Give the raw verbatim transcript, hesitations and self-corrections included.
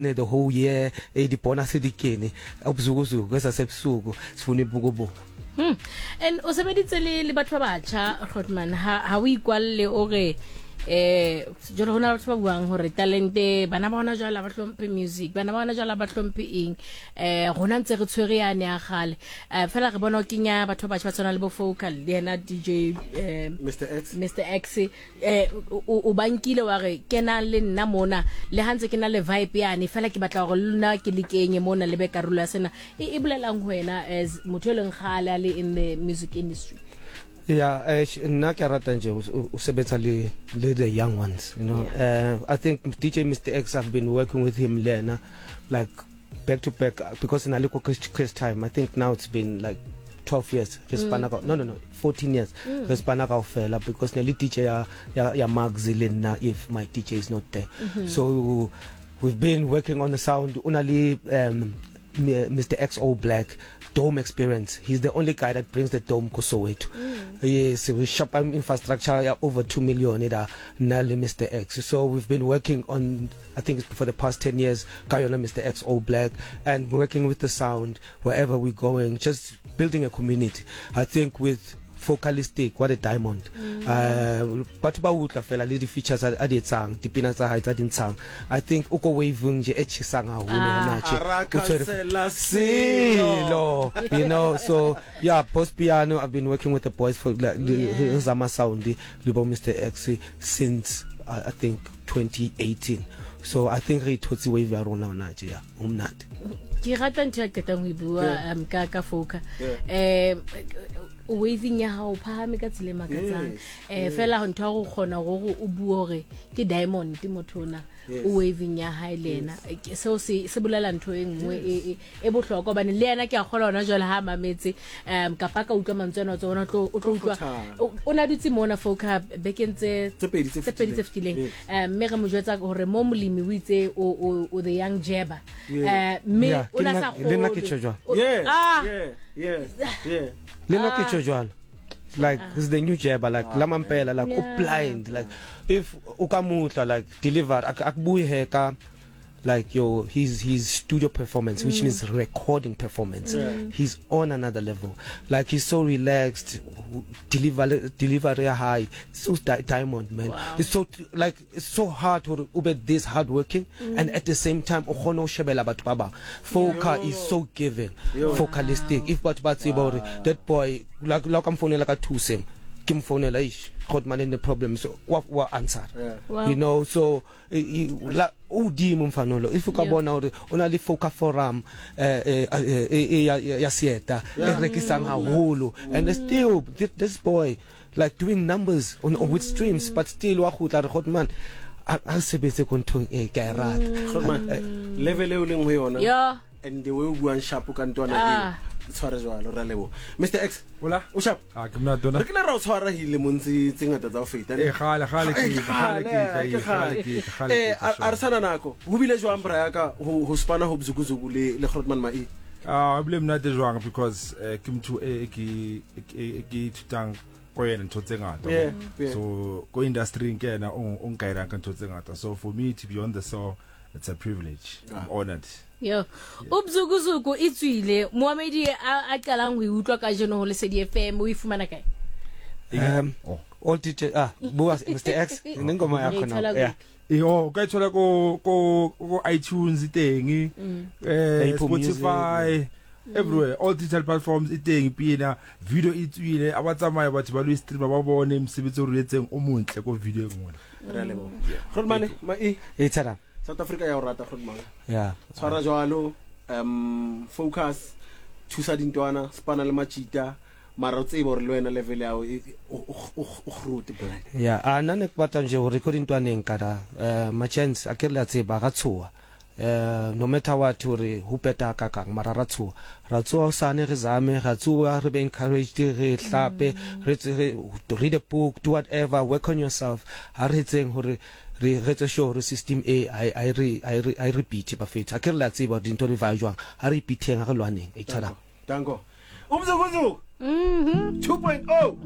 The whole year eh di-bonus di kene, ubuzukuzuku kwesasebusuku sifuna ibukubuku. Hmm. And o sebeditse le le batho ba batjha, Grootman, ha ha o ikwalle o re eh jalo hona batho ba buang hore talente bana ba hona jwale ba hlomphe music, bana ba hona jwale ba hlomphe eng, eh rona ntse re tshwere yane ya kgale, eh fela re bona o kenya batho ba batjha ba tshwana le bo Focal le yena D J eh Mister X. Mister X, eh o o bankile wa re kena le nna mona le ha ntse ke na le vibe yane, fela ke batla hore le nna ke le kenye mona le be karolo ya sena. E e bolelang ho wena as motho e leng kgale a le in the music industry? Yeah, eh nna ke rata nje o sebetsa le le the young ones, you know. Yeah. Uh, I think D J Mister X, I've been working with him lena like back to back because in Aliko Chris time, I think now it's been like twelve years re spana ka, no no no fourteen years re spana kaofela, because ne le D J ya ya, ya Max le nna if my D J is not there. Mm -hmm. So we've been working on the sound una le um, Mister X All Black Dome Experience. He's the only guy that brings the dome ko Soweto. Mm. Yes, we shop infrastructure ya over two million ida na le Mister X. So we've been working on, I think it's for the past ten years, ka yona Mister X All Black, and working with the sound wherever we're going, just building a community. I think with Focalistic, what a diamond. Mm. Uh, batho ba utlwa fela le di-features a di etsang, dipina tsa hae tsa di ntshang. I think o ko waving nje e tjhesang haholo hona tje. O tshwere selo, you know. So yeah, Post Piano, I've been working with the boys for like yeah. Zama Sound le bo Mister X since uh, I think twenty eighteen. So I think re thotse wave ya rona hona tje, ya o monate. Ke rata ntho ya qetang ho e bua um, ka ka Foka, eh waving ya hao phahame ka tsela e makatsang, eh fela ntho ya go kgona gore o bue hore ke diamond motho ona o waving ya hae le yena, seo se se bolela ntho e nngwe e e bohlokwa, hobane le yena ke a kgola hona jwale ha mametse um kapa ka utlwa mantswe ana tsona, o tlo o tlo utlwa o na dutse mona Foka bekeng tse tse pedi tse pedi tse fetileng, mme re mo jwetsa hore mo molemi o itse o o the young jabber, eh mme o na sa le nna ke tjho jwalo. Yeah yeah yeah yeah Le nna ke tjho jwalo, like uh, he's the new jabber, like la mampela, like yeah. O blind, like if o ka mutla like deliver akubuye heka like your his his studio performance, which mm. means recording performance, yeah. He's on another level. Like he's so relaxed, deliver delivery high, so di diamond man. Wow. It's so like it's so hard to ube this hard working mm. and at the same time o kgone ho shebela batho ba bang. Foka is so giving. Focalistic, if batho ba tseba hore that boy, like like I'm founela ka thuseng, ke mfounela ish God man in the problem, so wa wa answer. Yeah. Wow. You know so la o dimo mfanolo if o ka bona hore o na le Foca Forum eh eh ya ya sieta e rekisang haholo, and still this boy like doing numbers on, on with streams, but still wa khutla re God man a sebetse ko nthong e ke a rata. Man, level e o leng ho yona. Yeah. And the way o buang sharp ka ntwana e tshware jwalo, ra leboha. Mister X. Hola. O sharp. Ah, ke mna dona. Re kile ra o tshwara dilemong tse tse ngata tsa ho feta. Eh kgale kgale ke kgale ke kgale ke kgale. Eh a re sana nako. Ho bile jwang bra ya ka ho ho spana ho Bzukuzuku le le Grootman Mai? Ah, bile monate jwang because ke motho e ke ke ithutang ko yena ntho tse ngata. So ko industry ke yena o o nkairang ka ntho tse ngata. So for me to be on the show, it's a privilege. I'm honored. Yo, Ubzukuzuku e tswile moamedi a a qalang ho utlwa ka jeno ho Lesedi F M, o e fumana kae? Um all D J, ah, bua Mister X nengoma yakho na, yeah. Yo, ka thola ko ko ko iTunes teng, eh Spotify, everywhere, all digital platforms e teng pina video e tswile a ba tsamaya batho ba lo stream ba bone mosebetsi o re etseng o montle ko video e nngwe. Re leboha Grootman Mai. E tsara South Africa ya o rata, Grootman. Yeah. Tshwara jwalo, um focus, thusa dintwana, spana le machita, mara o tsebe hore le wena level ya o o groot blind. Yeah, a nna ne ke batla nje hore ko dintwaneng ka da eh ma chance a ke le a tseba ga tshoa. Eh no matter what hore ho peta ka kang mara ra tshoa. Ra tsoa sane re zame, ra tsoa re be encouraged, re hlape, re read a book, do whatever, work on yourself. Ha re tseng hore re re tse sure system A I I re I re I repeat ba fetsa a ke re la tseba dintho di va jwang, ha re repeateng, ha re lwaneng e tshala. Danko. Umzukuzuku Mhm two point oh.